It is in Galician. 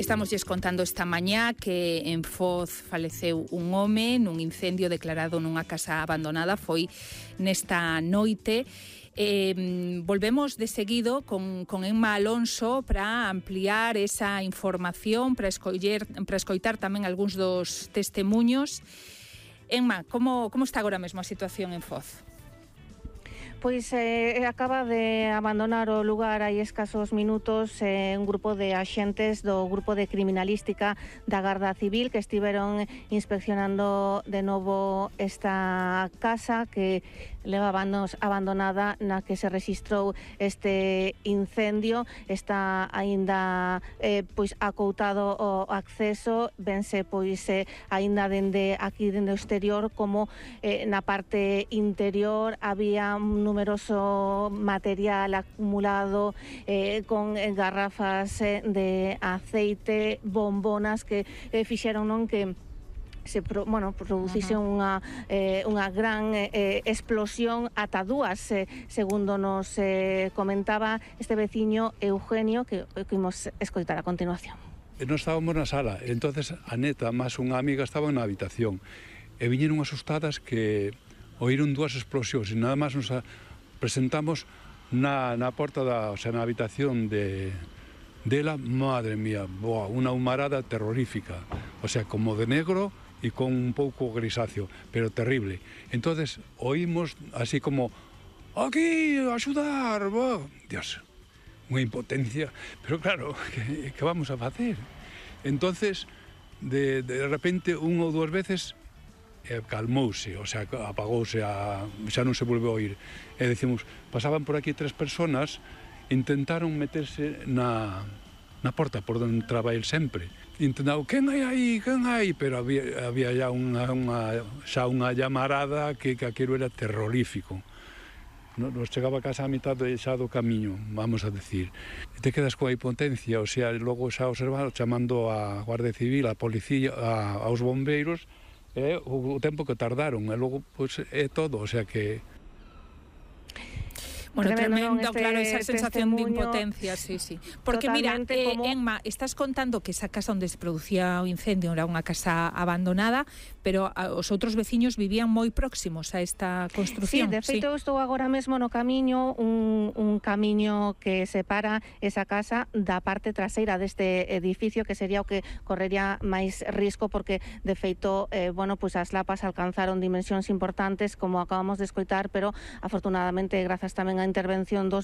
Estámoslles contando esta mañá que en Foz faleceu un home nun incendio declarado nunha casa abandonada. Foi nesta noite. Volvemos de seguido con Emma Alonso para ampliar esa información, para escoitar tamén algúns dos testemuños. Emma, como está agora mesmo a situación en Foz? Pois acaba de abandonar o lugar hai escasos minutos un grupo de axentes do Grupo de Criminalística da Garda Civil que estiveron inspeccionando de novo esta casa que levaba anos abandonada na que se rexistrou este incendio. Está aínda pois acoutado o acceso, vense pois aínda dende aquí, dende o exterior, como na parte interior había un numeroso material acumulado con garrafas de aceite, bombonas que fixeron que producise unha gran explosión ata dúas, segundo nos comentaba este veciño Eugenio, que imos escoitar a continuación. Nos estábamos na sala, entonces a neta máis unha amiga estaban na habitación e viñeron asustadas que oíron dúas explosións e nada máis nos presentamos na porta na habitación dela, madre mía, unha humarada terrorífica, o sea, como de negro e con un pouco grisáceo, pero terrible. Entonces oímos así como aquí, axudar, Dios, unha impotencia, pero claro, que vamos a facer? Entonces de repente unha ou dúas veces calmouse, o sea, apagouse, xa non se volveu a oír. E decimos, pasaban por aquí 3 personas, intentaron meterse na porta por onde entraba el sempre. Intentaron, quen hai aí, quen hai? Pero había xa unha llamarada que aquilo era terrorífico. Nos chegaba a casa a mitad xa do camiño, vamos a decir. Te quedas coa impotencia, o sea, logo xa observado, chamando a Guardia Civil, a policía, aos bombeiros, o tempo que tardaron, e logo, pois, é todo, o sea que... Bueno, tremendo, claro, esa sensación de impotencia, sí. Porque mira, Emma, estás contando que esa casa onde se producía o incendio era unha casa abandonada, pero os outros veciños vivían moi próximos a esta construción. Sí, de feito, estou agora mesmo no camiño, un camiño que separa esa casa da parte traseira deste edificio, que sería o que correría máis risco, porque de feito, pois as lapas alcanzaron dimensións importantes, como acabamos de escoitar, pero afortunadamente, grazas tamén a intervención dos